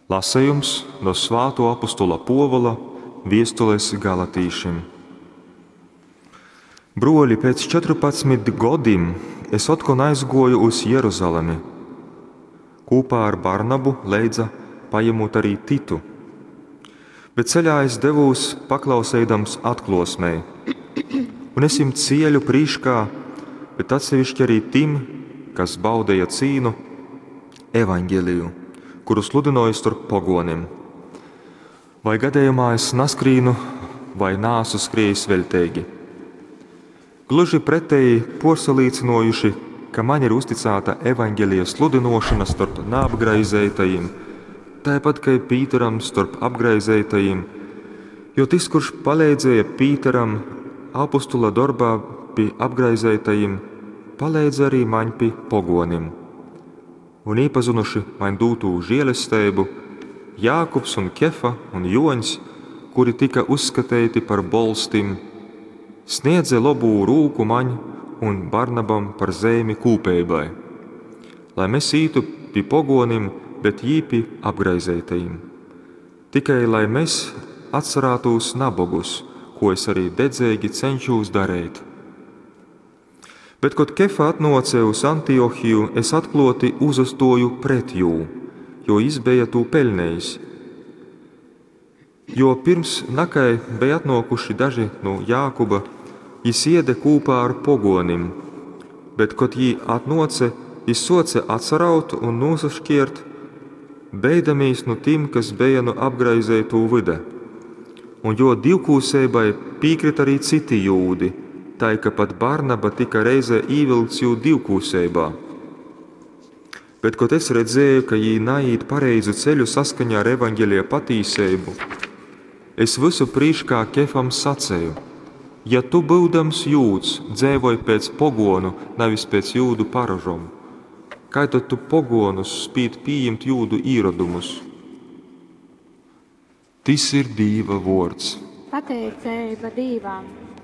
Lasejums no svātuo apustola Puovula viestules galatīšim. Bruoļi, pēc 14 godim es otkon aizguoju uz Jeruzalemi, kūpā ar Barnabu leidza pajemūt arī Titu. Bet ceļā es devūs paklauseidams atkluosmei, un es jim cieļu prīškā, bet atsevišķi arī tim, kas baudeja cīnu, evaņģeliju, kuru sludināju starp pogonim. Vai gadījumā es naskrīnu vai nāsu skriejis veļteigi? Gluži pretēji porsalīcinojuši, ka man ir uzticēta evaņģelija sludinošana starp neapgraizētajiem, tāpat kā Pīteram starp apgraizētajiem, jo tas, kurš palīdzēja Pīteram apostula darbā pie apgraizētajiem, palīdz arī man pie pogonim. Un iepazinuši man dūtū žēlestību, Jākubs un Kefa un Joņs, kuri tika uzskatīti par bolstim, sniedze labū rūku maņ un Barnabam par zemi kūpeibai, lai mēs ītu pie pogonim, bet jī pie apgraizētajiem. Tikai lai mēs atcerētos nabogus, ko es arī dedzīgi cenšos darīt. Bet, kad Kefa atnāca uz Antiohiju, es atklāti uzastoju pret jū, jo jis bija tū peļnējis. Jo pirms nakai bija atnākuši daži no Jākuba, jis iede kūpā ar pogonim, bet, kad jī atnāca, jis soce atsaraut un nosašķiert, beidamīs no tim, kas bija no apgraizētū vida. Un jo divkūseibai piekrita arī citi jūdi, tai ka pat Barnaba tika reizē īvilkts jū divkūseibā. Bet, kad es redzēju, ka jī naiet pareizu ceļu saskaņā ar evaņģelija patīseibu, es visu prīškā Kefam sacēju: ja tu būdams jūds, dzēvoj pēc pogonu, nevis pēc jūdu paražom, kā tad tu pogonus spīt pieņemt jūdu īradumus? Tis ir Dīva vords. Pateiceiba Dīvam!